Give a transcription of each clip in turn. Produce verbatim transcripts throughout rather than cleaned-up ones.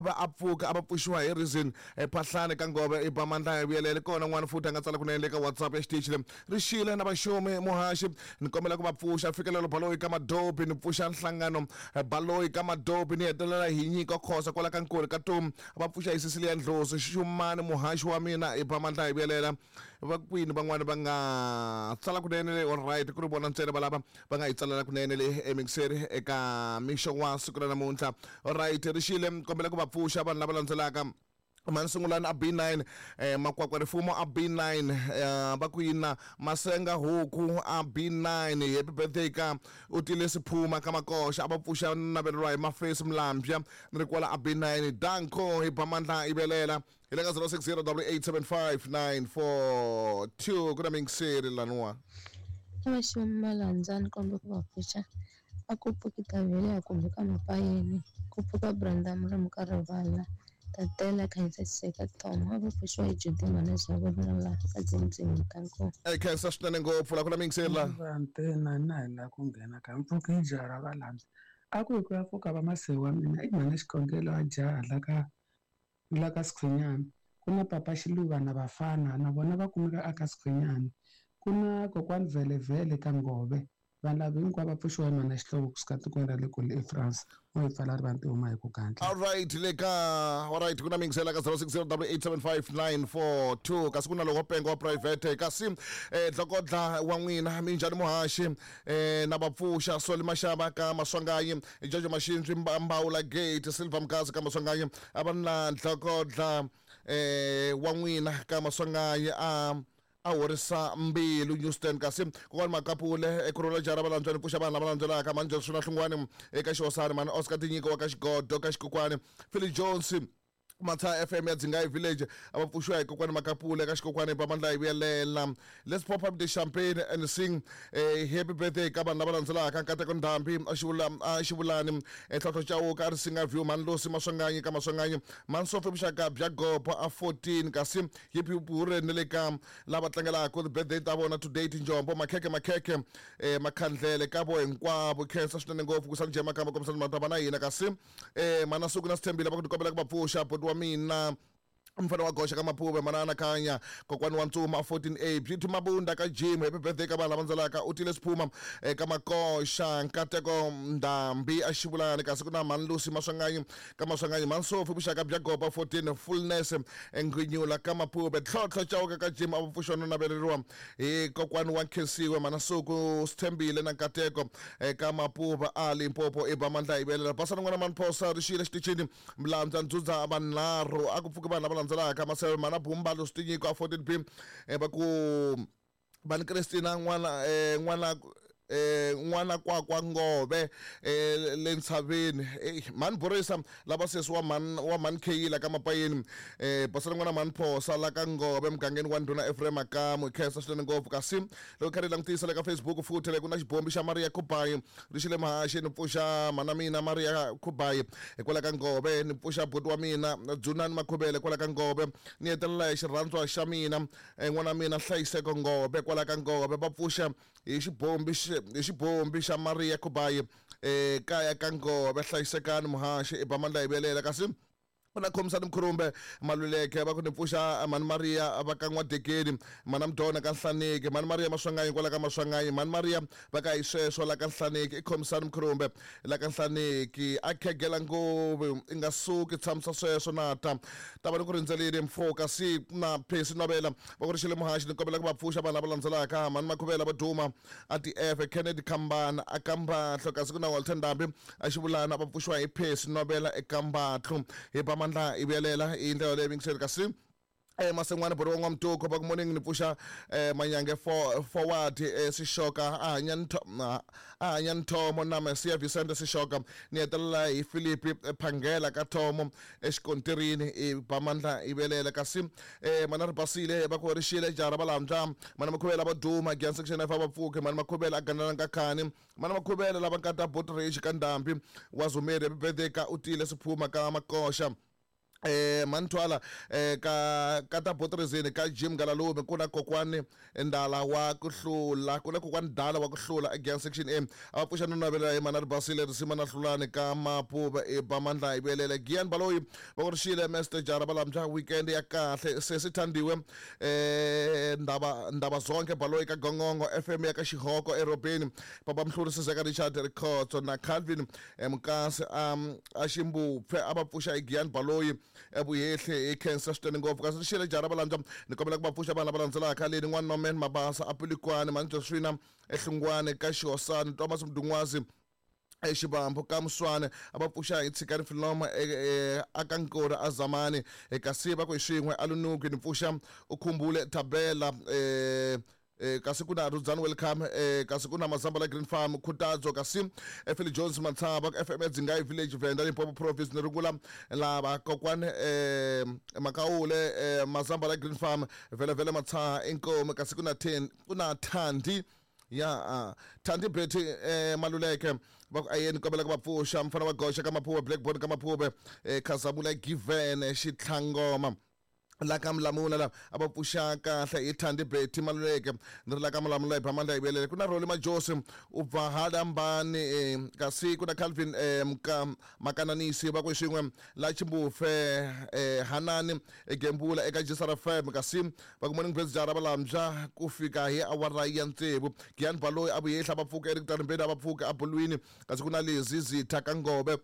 Va a pfuka a va pfuxiwa hi reason Phahlane ka Ngove i ba mandla hi vuyelele kona. N'wana futhi a nga tsala kunene le ka WhatsApp ya xitichi le rixile na vaxumi muhaxi, ni kombela ku va pfuxa fikelelo baloyi ka Madobi, ni pfuxa nhlangano baloyi ka Madobi, ni hetelela hi nyiko khosa kwala ka Nkuri ka Tomu, va pfuxa hi Cecilia Ndlozi Xumani muhaxi wa mina i ba mandla hi vuyelela. Va kwini van'wani va nga tsala kunene le? All right, ku ri vona ntsena va lava va nga hi tsalela kunene le emixeri eka mixo wa siku ra namuntlha. All right, rixile, kombela ku va pfuxa vanhu lava landzelaka: Mani Sungulani a B nine, eh, Makwakwa Rifumo a B nine, eh, va ku yina Masenga Huku a B nine, happy birthday ka u tile Siphuma ka Makoxa, a va pfuxa naveleriwa hi Mafesi Mlambya ni ri kwala a B nine. Danko hi ba mandla i velela hi le ka zero six zero double eight seven five nine four two. Ku na mingiseri laniwa. Avaxumi malandza, ni komba ku va pfuxa a ku pfuki Tavhele kumbe ka Mapayeni, ku pfuka Brenda Murimu ka Rivala Tatela Khensa Xiseka Tom, a va pfuxiwa hi Judy Manager la ka Dzimdzimi Danko. E khensa swinene ngopfu la ku na mingiseri la. Vantena na hi la ku nghena ka mpfuka hi jaha ra valandza a ku hi ku ya pfuka va masewu wa mina i mhana xikhongelo a jaha la ka la ka Sikhwenyana, ku na papa Xiluva na vafana na vona va kumeka aka Sikhwenyana, ku na kokwani Vhelevhele ka Ngove. Vanhu lava hinkwavo va pfuxiwa hi mhana Xihlovo kusuka tikweni ra le kule eFrance o hi pfala rivanti huma hi ku gandla. All right, le ka all right, ku na mingisela ka zero six zero double eight seven five nine four two, kasi ku na loko pengo wa private kasi eh dlokodla wa n'wina. Minjhani muhaxi? eh na vapfuxa Soli Mashava ka Maswanganyi, Jojo Mashinzwi Mbawula Gate, Silver Mkazi ka Maswanganyi, a va na dlokodla eh wa n'wina ka Maswanganyi a a horisa mbilu Houston, kasi kokwani Makapule ekurhula jara va landzweni pfuxa vanhu lava landzelaka: mani Johnson Hlungwani eka Xihosani, mani Oscar Tinyiko wa ka Xigodo ka Xikokwani, Philly Jones Matha F M ya Dzingayi Village, a va pfuxiwa hi kokwani Makapule ka Xikokwani ba mandla hi vuyelela. Let's pop up the champagne and sing eh, happy birthday ka vanhu lava landzelaka: Nkateko Ndhambi a xivula a Xivulani, Tlhontlho Chauka a ri Singa View, Mani Losi Maswanganyi ka Maswanganyi, Mani Sofi vuxaka bya Gopo a fourteen, kasi hip hip hurray ni le ka lava tlangelaka the birthday ta vona today: Tinjombo Makhekhe Makhekhe eh Makhandlele ka vo hinkwavo. Khensa swinene ngopfu ku sani jema kamba kombisani mata na hina, kasi eh mana suku na Sithembile va ku tikombela ku va pfuxa buti wa mina mfana wa goxa ka Maphuve, mana anakanya kokwani wa Ntsuma fourteen A, Beauty Mabunda ka Jim, happy birthday ka vanhu lava landzelaka: u tile Siphuma eka Makoxa, Nkateko Ndhambi a Xivulani, kasi ku na Mani Lusi Maswanganyi ka Maswanganyi, Mani Sofi vuxaka bya Gopa fourteen, Fullness Nghwinyula ka Maphuve, Tlhontlho Chauka ka Jim, a va pfuxiwa no naveleriwa hi kokwani wa Nkhensiwe, mana Suku Sithembile na Nkateko eka Mapuva a Limpopo i ba mandla hi velela. Basana n'wana mani Phosa rixile xitichini Mlandza Ndzudza vanharhu, a ku pfuki vanhu lava landzelaka: Maseve mana Bumbalo Switinyiko a fourteen B, va ku vani Christina n'wana eh n'wana eh n'wana kwakwa Ngove eh le ntshaveni, eh mani Borisa lava sesi wa man wa man Kheyila ka Mapayeni, eh basana n'wana mani Phosa la ka Ngove mugangeni wa Ndhuna Ephraim Makamu. Khensa swinene ngopfu. Kasi loko kha ri langutisa le ka Facebook futhi le ku na xibombi xa Maria Khubayi rixile mahaxi, ni pfuxa mana mina Maria Khubayi hikwalaho ka Ngove, ni pfuxa buti wa mina Dzunani Makhubele kwala ka Ngove, ni hetelela hi xirhandzwa xa mina n'wana mina Hlayiseko Ngove kwala ka Ngove, va pfuxa hi xibombi hi xibombi xa Maria Khubayi eh kaya ka Ngove. Hlayisekani muhaxi i ba mandla hi velela. Kasi ku na Khomisani Mkhurumbe Maluleke va ku ni pfuxa mani Maria va ka N'wadekeni, mana Mdona ka Nhlaneki, mani Maria Maswanganyi kwala ka Maswanganyi, mani Maria va ka hi sweswo la ka Nhlaneki, i Khomisani Mkhurumbe la ka Nhlaneki a khegela ngopfu i nga suki tshamisa sweswo na ta ta va ni ku rindzelile mfo. Kasi na Phesi Novela va ku rixile muhaxi, ni kombela ku va pfuxa vanhu lava landzelaka: mani Makhuvela va duma a T F, Kennedy Khambana a Kambatlho, kasi ku na Walter Ndhambi a Xivulana, va pfuxiwa hi Phesi Novela eKambatlho hi ba mandla i vuyelela hi ndlela leyi mingiseri. Kasi eh Masen'wana bori wa N'wamtuko va ku morning, ni pfuxa eh Manyange for forward eh Sishoka a hanya a hanya Nthomo na Messia Vicente Sishoka, ni hetelela hi Philip Phangela ka Thomo exikontirini i ba mandla i velela. Kasi eh mana ri basile va ku rixile jara va landza mana Makhuvela va duma Gian section F va pfuke mana Makhuvela a ganela ka khani mana Makhuvela lava nkata Botridge ka Ndhambi wa Zumeri, happy birthday ka u tile Siphuma ka Makoxa. Eh Mantwala eh ka ka ta Botrizini ka Jim Galalume kuna kokwani ndala wa ku hlula kuna kokwani dala wa ku hlula against section M a pfuxa no navela hi mana Basile risima na hlulani ka Mapuva e Bamandla hi velele Gian Baloyi va ku rixile Mister Jara Balamja weekend ya kahle sesi Thandiwe eh ndaba ndaba zonke Baloyi ka Gongongo F M ya ka Xihoko eRobeni Papa Mhluri Sizeka Richard Rikhotso na Calvin Mkasi um a Ximbupfe a va pfuxa hi Gian Baloyi evuyehle hi Cancer swinene ngopfu kasi rixile Jara Balamja ni kombela ku va pfuxa vanhu lava landzelaka leni n'wana Norman Mabasa a Polokwane Manjoswina eHlungwane ka Xihosani Thomas Mdungwazi exibambo ka Muswane a va pfuxa hi Tshikani Filoma aka Nkori a Zamani kasi va ku hi swin'we a Lunuki ni pfuxa u khumbule Thabela eh Eh, kasi kuna Rudzani welcome eh, kasi kuna Mazamba la Green Farm Khutadzo kasi Phil Jones Matsaba F M Dzingai Village Venda Limpopo Province ni rungula lava kokwani eh, Makaule eh, Mazamba la Green Farm vele vele Matsaha Inkomo kasi kuna ten kuna Thandi ya uh, Thandi Betty eh, Maluleke va ku ayeni kombela ku va pfuxa mfana wa goxa ka Maphuve Blackboard ka Maphuve eh, Khazamula Given Xitlhangoma la ka Mlamula la a va pfuxa kahle hi Thandi Betty Maluleke ni ri la ka Mlamula hi Bamandla hi velele ku na Roli Majosi u bva Halambani eh, kasi ku na Calvin eh, Mka Makananisi va ku xin'we la Chimbufe eh, Hanani Gembula eka Jisara F M kasi va ku morning best Jara Balamja ku fika hi awara ya tsevu Gian Baloyi a vuyehla va pfuka Eric Tarimbeni a va pfuka a Bulwini kasi ku na Lezi Zitha ka Ngobe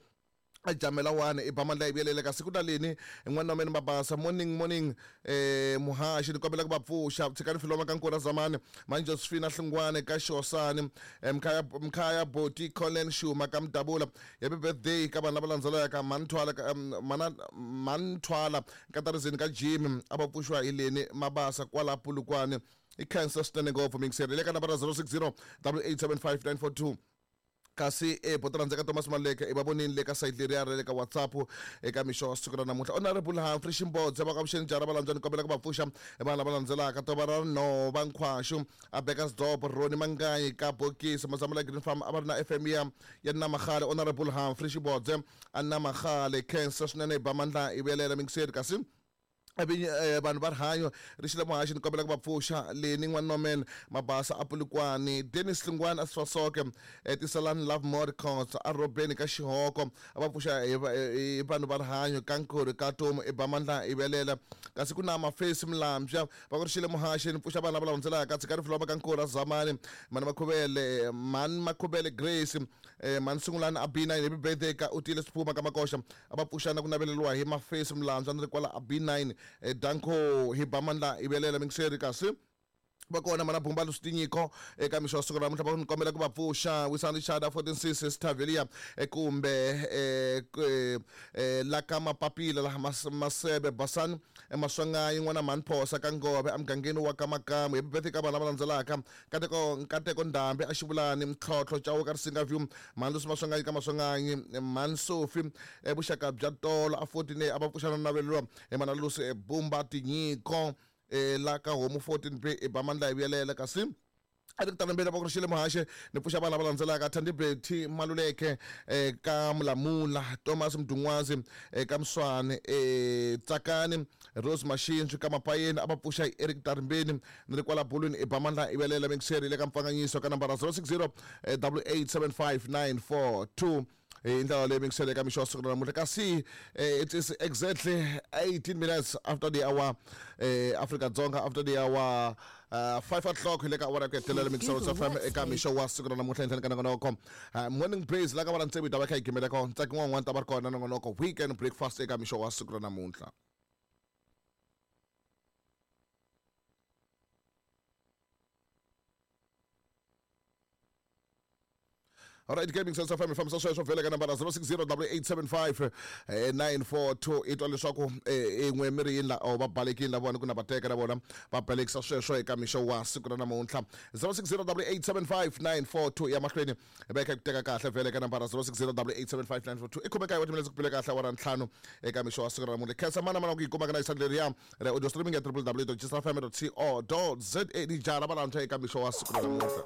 a jamela wane i Bamandla hi velele kasi ku na leni n'wana wa mina Mabasa morning morning eh muhaxi ni kombela ku va pfuxa Tshikani Filoma ka Nkora Zamani Manjosfina Hlungwane ka Xosani Mkhaya Mkhaya Boti Colin Shuma ka Mdabula happy birthday ka vanhu lava landzelaka Manthwala mana Manthwala Katarizini ka Jimmy a va pfuxiwa hi leni Mabasa kwala Polokwane i Cancer swinene ngopfu mingiseri le ka nambara zero six zero double eight seven five nine four two kasi e botorandzeka Thomas Maleke i va vonini le ka site leriya ra le ka WhatsApp eka mixo wa siku ra namuntlha Honorable Humphrey Ximbodze va ka vuxeni Jara Balamja ni kombela ku va pfuxa vanhu lava landzelaka tova ra Nhova Nkhwaxu a Bekkersdorp Roni Mangayi ka Bokisi Mazamula Green Farm a va ri na F M ya ya Namagale Honorable Humphrey Xibodze a Namagale Cancer swinene hi Bamandla hi vuyelela mingiseri kasi vanhu va rihanyo rixile muhaxi ni kombela ku va pfuxa leni n'wana Norman Mabasa a Polokwane Dennis Hlungwane a Swasoke Tisalani Love More Records a Robeni ka Xihoko a va pfuxa hi vanhu va rihanyo ka Nkori ka Tomu i Bamandla hi velela kasi ku na Mafesi Mlambya va ku rixile muhaxi ni pfuxa vanhu lava landzelaka Tshikani Filoma ka Nkori a Zamani Mani Makhuvele Mani Makhuvele Grace Mani Sungulani a B nine happy birthday ka Utile Siphuma ka Makoxa a va pfuxa na ku naveleriwa hi Mafesi Mlambya ni ri kwala a B nine Danko hi Bamandla hi velela mingiseri kasi va kona mana Bumba Lusitinyiko eka mixo wa siku ra namuntlha va ni kombela ku va pfuxa Wisani Richard fourteen six Stavelia kumbe la ka Mapapila laha Masebe Basani Maswangayi n'wana Manphosa ka Ngove emugangeni wa ka Makamu happy birthday ka vanhu lava landzelaka Nkateko Nkateko Ndhambi a Xivulani Mtlhotlho Chauke Risinga View Mani Maswangayi ka Maswangayi Mani Sophie vuxaka bya tolo a fourteen a va pfuxa na naveleriwa hi mana Lusi Bumba Tinyiko la ka Homu fourteen B i Bamandla hi vuyelela kasi a ri ku talambeni va ku rixile muhaxi ni pfuxa vanhu lava landzelaka Thandi Betty Maluleke ka Mulamula Thomas Mdungwazi ka Muswane Tsakani Rose Mashinzwi ka Mapayeni a va pfuxa hi Eric Tarimbeni ni ri kwala Bulwini i Bamandla hi velela mingiseri le ka Mpfanganyiso ka nambara zero six zero double eight seven five nine four two hi ndlela leyi mingisele eka mixo wa siku ra namuntlha kasi it is exactly eighteen minutes after the hour Afrika Dzonga after the hour uh, five o'clock hi le ka awara ya ku hetelela mingiselo F M eka mixo wa siku ra namuntlha henhleni ka nongonoko morning praise la ka va ntsevu hi ta va kha hi gimela kona ntsaki n'wan'wana ta va ri kona nongonoko weekend breakfast eka mixo wa siku ra namuntlha. All right, Gaming Sense F M fambisa sweswo vhele ka nambara zero six zero double eight seven five nine four two i twa leswaku in'we mi ri yini la va balekile la vona ku na va teka na vona va balekisa sweswo eka mixo wa siku ra namuntlha zero six zero double eight seven five nine four two ya mahlweni va kha ku teka kahle vhele ka nambara zero six zero double eight seven five nine four two i khome kaye wa timinetse ku pile kahle awara ntlhanu eka mixo wa siku ra namuntlha khensa mana mana ku yi kumaka na yisani leriya ra audio streaming ya w w w dot jisrafm dot co dot za ni jara valantshwa eka mixo wa siku ra namuntlha.